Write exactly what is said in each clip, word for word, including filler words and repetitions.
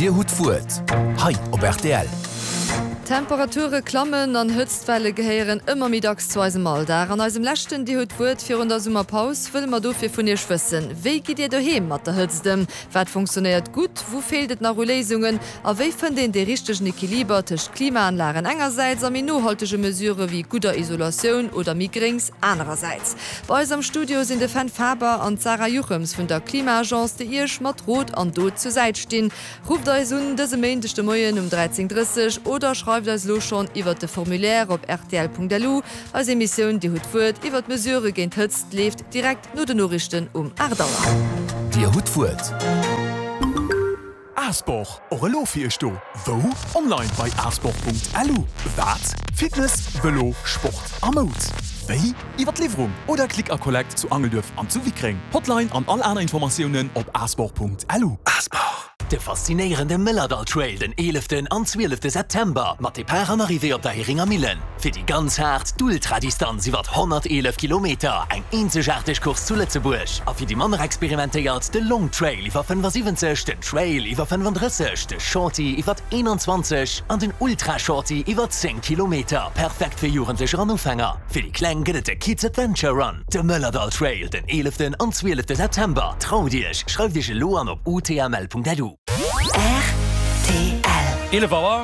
Dir hutt d'Wuert hei op rtl. D'Temperature klammen an Hëtztwelle gehéieren ëmmer méi dacks zu eisem Alldag. An eisem leschten Dir hutt d'Wuert virun der Summerpaus wëlle mer dofir vun Iech wëssen, Wéi gitt Dir doheem mat der Hëtzt ëm? Wat funktionéiert gutt, wou feelt et nach u Léisungen a wéi fënnt een dee richtegen Equiliber tëscht Klimaanlagen engersäits a méi nohaltege Mesurë wéi gudder Isolatioun oder méi Gréngs anerersäits? Bei eis am Studio sinn de Fenn Faber an d'Sarah Juchems vun der Klima-Agence, déi Iech mat Rot an Dot zur Säit stinn. Rufft eis un dëse Méindeg de Moien um dräizéng drësseg oder schreift eis elo schonn iwwert de Formulaire op rtl.lu. Eis Emissioun Dir hutt d'Wuert iwwert Mesurë géint d'Hëtzt leeft direkt no den Noriichten um aacht Auer. Dir hutt d'Wuert. Asport, och elo fir iech do. Wou? Online bei asport.lu. Wat? Fitness, Vëlo, Sport a Moud. Wéi? Iwwer d'Liwwerung oder Click a Collect zu Angelduerf an zu Wickreng. Hotline an all aner Informatiounen op asport.lu. Asport. De faszinéierende Mëllerdall Trail den eeleften an zwielefte September mat Depart an Arrivée op der Heringer Millen. Fir déi ganz haart, d'Ultradistanz iwwert honnerteelef Kilometer, eng eenzegaarteg Course zu Lëtzebuerg. A fir déi manner experimentéiert, de Long Trail iwwer fënnefasiwwenzeg, den Trail iwwer fënnefandrësseg, de Shorty iwwer eenanzwanzeg an den Ultra Shorty iwwer zéng Kilometer. Perfekt fir Jugendlecher an Ufänger. Fir déi Kleng gëtt et de Kids Adventure Run. De Mëllerdall Trail den eeleften an zwielefte September. Traut Iech, schreift Iech elo an op utml.lu. R T L. Eelef Auer.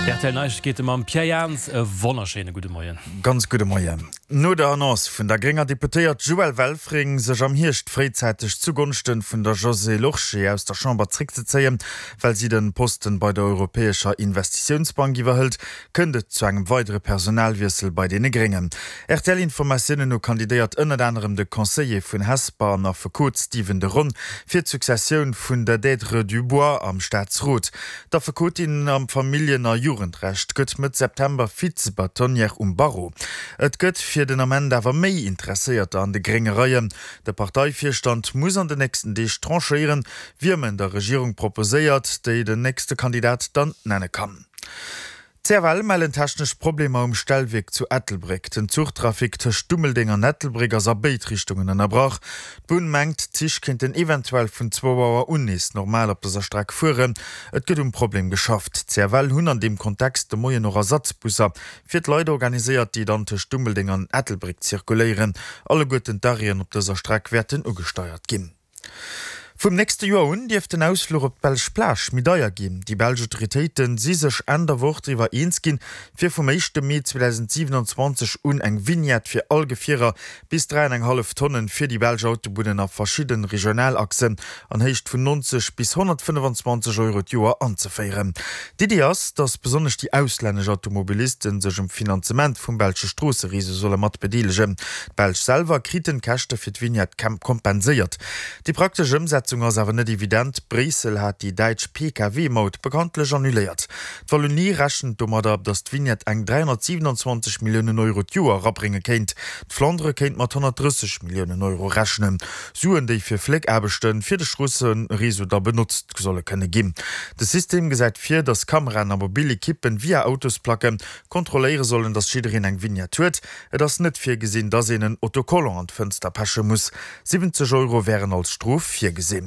D' R T L Neiegkeete mam Pierre Jans. E wonnerschéine gudde Moien. Ganz gudde Moien. No der Annonce vun der grénger Deputéiert Joëlle Welfring, sech am Hierscht fréizäiteg zugonschte vun der Josée Lorsché aus der Chamber zréckzezéien, well si de Posten bei der Europäescher Investitiounsbank iwwerhëlt, kënnt et zu engem weidere Personalwiessel bei deene Gréngen. R T L-Informatiounen no kandidéiert ënnert anerem de Conseiller vun Hesper an Affekot Stephen de Ron fir d'Successioun vun der Deidre du Bois am Staatsrot. D'Affekotin am Familljen a Jugendrecht gëtt Mëtt September Vize-Bâtonnière um Barreau. Et gëtt fir den Ament awer méi Interesséierter an de grénge Reien. De Parteivirstand muss an den nächsten Deeg tranchéieren, wiem en der Regierung proposéiert, déi den nächste Kandidat dann nenne kann. D' C F L mellen technesch Problemer um Stellwierk zu Ettelbréck. Den Zuchtrafic tëscht Dummeldeng an Ettelbréck ass a béid Richtungen ënnerbrach. D'Bunn mengt, d'Zich kéinten eventuell vun zwou Auer un nees normal op dëser Streck fueren. Et gëtt um Problem geschafft. D' C F L hunn an deem Kontext de Moien och Ersatzbusser fir d'Leit organiséiert, déi dann tëscht Dummeldeng an Ettelbréck zirkuléieren. Alleguerten d'Arrêten op dëser Streck wäerten ugesteiert ginn. Vum nächste Joer un dierft den Ausfluch op d'belsch Plage méi deier ginn. Déi belsch Autoritéite si sech Enn der Woch driwwer eens ginn, fir vum éischte Mee zweedausendsiewenanzwanzeg un eng Vignette fir all Gefierer bis dräi an eng hallef Tonnen fir déi belsch Autobunnen a verschidde Regionalachsen an Héicht vun neunzeg bis honnertfënnefenzwanzeg Euro d'Joer anzeféieren. D'Iddi ass, datt besonnesch déi auslännesch Automobiliste sech um Finanzement vum belsche Stroossereseau solle mat bedeelegen. D'Belsch selwer kriten d'Käschte fir d'Vignette kompenséiert. Déi praktesch Ëmsetzung ass awer net evident. Bréissel hat déi däitsch P K W-Maut bekanntlech annuléiert. D'Wallonie rechent domadder, datt d'Vignette eng dräihonnertsiwenanzwanzeg Milliounen Euro d'Joer erabrénge kéint. D'Flandere kéint mat honnertdrësseg Milliounen Euro rechnen. Suen, déi fir Fléckaarbechte fir de Stroossereseau da benotzt solle kënne ginn. De System gesäit vir, datt Kameraen a mobil Ekippen via Autosplacke kontrolléiere sollen, datt jiddereen eng Vignette huet. Et ass net virgesinn, datt een en Autocollant an d'Fënster peche muss. Siwwenzeg Euro wären als Strof virgesinn.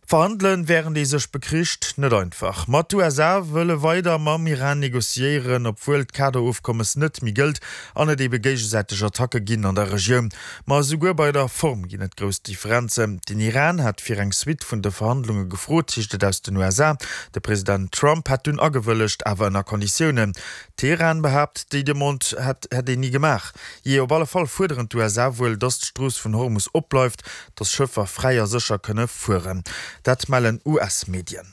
Verhandelen, wärend ee sech bekricht, net einfach. Ma d'U S A wëlle weider mam Iran negociéieren, obwuel d'Kaderofkommes net méi gëllt an et ebe géigesäiteg Attacke ginn an der Regioun. Ma esouguer bei der Form ginn et grouss Differenzen. Den Iran hat fir eng Suite vun de Verhandlunge gefrot, heescht et aus den U S A. De President Trump hat dunn agewëllegt, awer ënner Konditiounen. Teheran behaapt, déi Demande hätt hätt een ni gemaach. Jee, op alle Fall fuerderen d'U S A wuel, datt d'Strooss vun Hormus opbleift, datt Schëffer fräi a sécher kënne fueren. Dat mellen U S-Medien.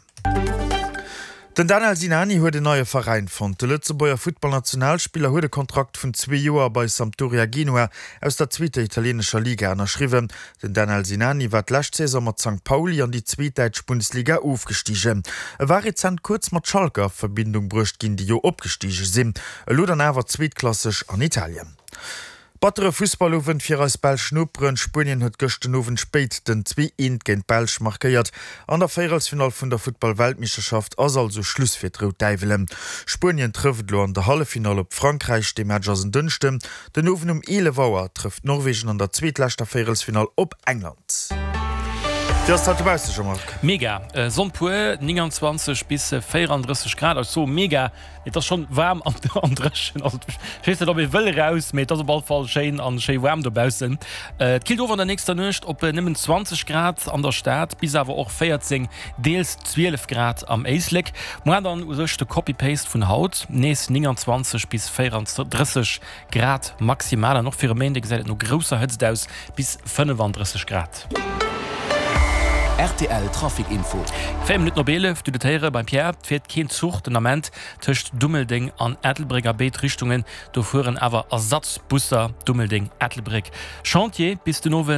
Den Danel Sinani huet en neie Veräin fonnt. De Lëtzebuerger Futtballnationalspiller huet e Kontrakt vun zwee Joer bei Sampdoria Genua aus der zweeter italieenescher Liga ënnerschriwwen. Den Danel Sinani war d'lescht Saison mat Sankt Pauli an déi zweet däitsch Bundesliga ofgestigen. E war rezent kuerz mat Schalke a Verbindung bruecht ginn, déi jo opgestige sinn. Elo dann awer zweetklasseg an Italien. Battere Fussballowend fir eis belsch Noperen. Spuenien huet gëscht den Owend spéit den zwee eent géint d'Belsch markéiert. An der Véierelsfinall vun der Futtball-Weltmeeschterschaft ass also Schluss fir d'Rout Däiwelen. Spuenien trëfft elo an der Halleffinall op Frankräich. De Match ass en Dënschden den Owend um eelef Auer. Trëfft Norwegen an der zweetleschter Véierelsfinall op England. Wéi ass dat dobausse, Jean-Marc? Mega! Sonn pur, neunundzwanzeg bis véierunddrësseg Grad. Ech soe mega, mee et ass schonn waarm an dréchen. Also ech weess net, ob ee wëll eraus, mee et ass op all Fall schéin an schéi waarm dobaussen. Et killt of an der nächster Nuecht op nëmmen zwanzeg Grad an der Stad, bis awer och véierzéng, deels zwielef Grad am Éislek. Moar dann u sech de Copy-Paste vun haut, nees neunundzwanzeg bis véierunddrësseg Grad maximal. An och fir e Méinde gesäit et no grousser Hëtzt aus, bis fënnefandrësseg Grad. Rtl Trafic Info. Véier Minutten op eelef, du det héiere beim Pierre, et fiert keen Zuch den Ament tëscht Dummeldeng an Ettelbréck a béid Richtungen. Do fueren awer Ersatzbusser Dummeldeng, Ettelbréck. Chantier bis den Owend.